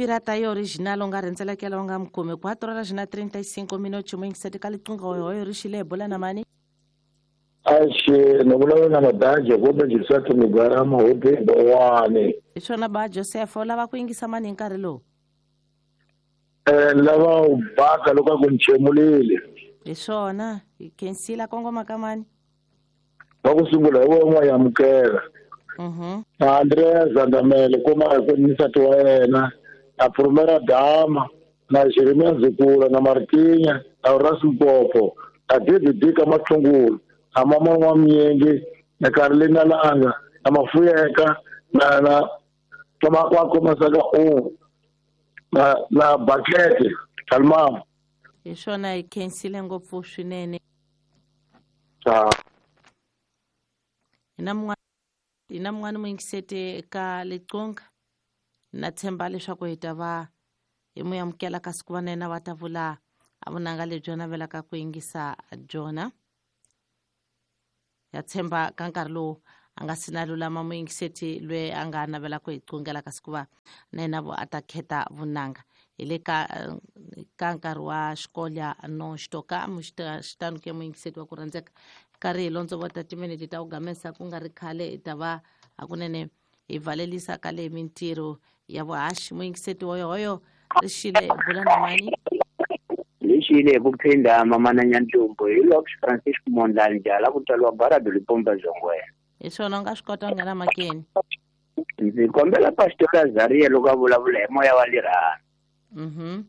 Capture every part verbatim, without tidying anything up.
Pirata ya original u nga rhendzelekela u nga mi kumi quatro horas na trinta e cinco minutos muyingiseti ka liqingho hoyo ri xile hi bula na mani. Axe ni vulavula na Madaje kumbe Joseph Migwarama hope Bowani. Hi swona ba Joseph u lava ku yingisa mani hi nkarhi lowu? Eh ni lava u baka loko a ku ni chemulile. Hi swona hi khensile kongoma ka mani. Va ku sungula hi wena wa amukela. Mhm. Na Andrea Zandamele kuma ku ni nsati wa yena na Prumera Dama na Jeremia Zukula na Martinya na Horace Mpopo na David Dika Mathungulu na mama wa Mnyenge na Carolina Langa na Mafuyeka na na Tomakwako Masaka o na na Bakete Salma. Hi swona hi khensile ngopfu swinene. Ta. Hi na mun'wana hi na mun'wana muyingiseti ka liqingho na tshemba leswaku hi ta va hi mu amukela kasi ku va na yena va ta vula a vunanga lebyi navelaka ku yingisa byona. Ya tshemba ka nkarhi lowu a nga si na lulama muyingiseti loyi a nga navela ku hi qungela kasi ku va na yena vo a ta khetha vunanga hi le ka ka nkarhi wa xikolya no xitoka xitanu ke muyingiseti wa ku rhandzeka karhi hi londzo vota timinete ta ku gamesa ku nga ri khale hi ta va hakunene hi valelisa ka le mintirho ya vuhaxi. Muyingiseti woyohoyo ri xile bula na mani. Lexile hi ku phinda mamana Nyantlumbu hi Lux Francisco Mondlane Jala ku tswariwa Barado Lipomba Zongwena. Hi swona u nga swi kota ku nghena makeni. Ndzi kombela Pastor Azaria loko a vulavula hi moya wa lirhana. Mhm.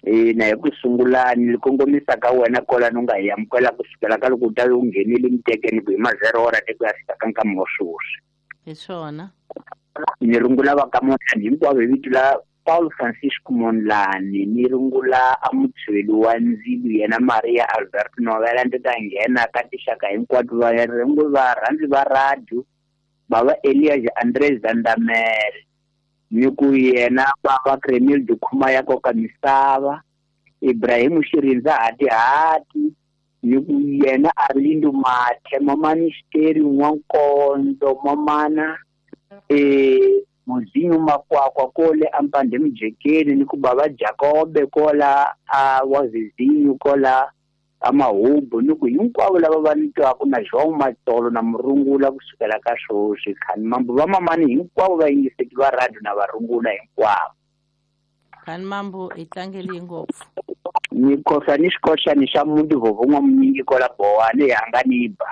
Ina hi ku sungula ni kongomisa ka wena kwalano u nga hi amukela kusukela ka loko u ta u nghenile mitekeni ku hi ma zero hora te ku ya fika ka nkama wa sweswi. Hi swona. Ni rungula va ka Mondlane hinkwavo hi vito la Paul Francisco Mondlane, ni rungula a mutshweli wa ndzilu yena Maria Albert Novela ndzi ta nghena ka tinxaka hinkwato va rungula varhandzi va radio bava Elias Andres Zandamele ni ku yena bava Kremil Dukhuma ya koka misava Ibrahim Shirindza hati hati ni ku yena Arlindo Mathe mamani Xiteri N'wankondzo mamana eh Muzinyu Makwakwa kole ampande mujekeni ni ku bava Jakobe kola a wazizinyu kola amahubu ni ku hinkwavo lava va ni twaku na João Matsolo na murungula kusukela ka sweswi khani mambo va mamani hinkwavo va yingiseki va radio na varungula hinkwavo. Khani mambo hi tlangeli ngopfu. Ni khosa ni xikoxani xa muti vovo n'wamunyingi kola Bowani hi hanga ni ba.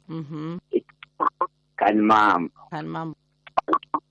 Mhm. Khani mambo. Khani mambo.